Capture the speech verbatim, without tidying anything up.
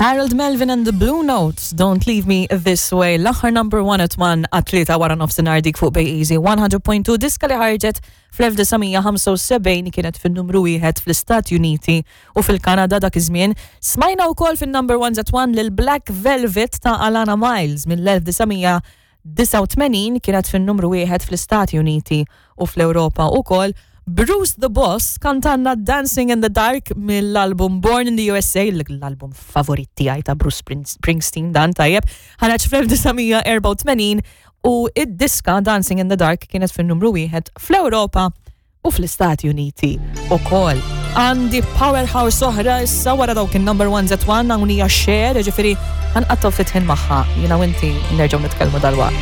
Harold Melvin and the Blue Notes, "Don't Leave Me This Way", l-aħħar number one at one għat-tlieta wara nofsinhar dik fuq Bay Easy one hundred point two, diska li ħarġet fl-elf disa' mija ħamsa u sebgħin kienet fin-numru wieħed fl-Istati Uniti u fil-Kanada dak iż-żmien. Smajna wkoll fin-number one at one lil Black Velvet ta' Alannah Myles mill-elf disa' mija disgħa u tmenin, kienet fin-numru wieħed fl-Istati Uniti u fl-Ewropa wkoll. Bruce the Boss kantanna "Dancing in the Dark" mill-album Born in the U S A, l-album favorit tiegħi ta' Bruce Springsteen dan, tajjeb, ħareġ fl-elf disa' mija erbgħa u tmenin u id-diska "Dancing in the Dark" kienet fin-numru wieħed fl-Ewropa u fl-Istati Uniti ukoll. Għandi powerhouse oħra issa wara dawk il-number one at one, hawn hija Cher, ġifieri ħa nqattgħu ftit ħin magħha, jiena u inti nerġgħu nitkellmu dalwaqt.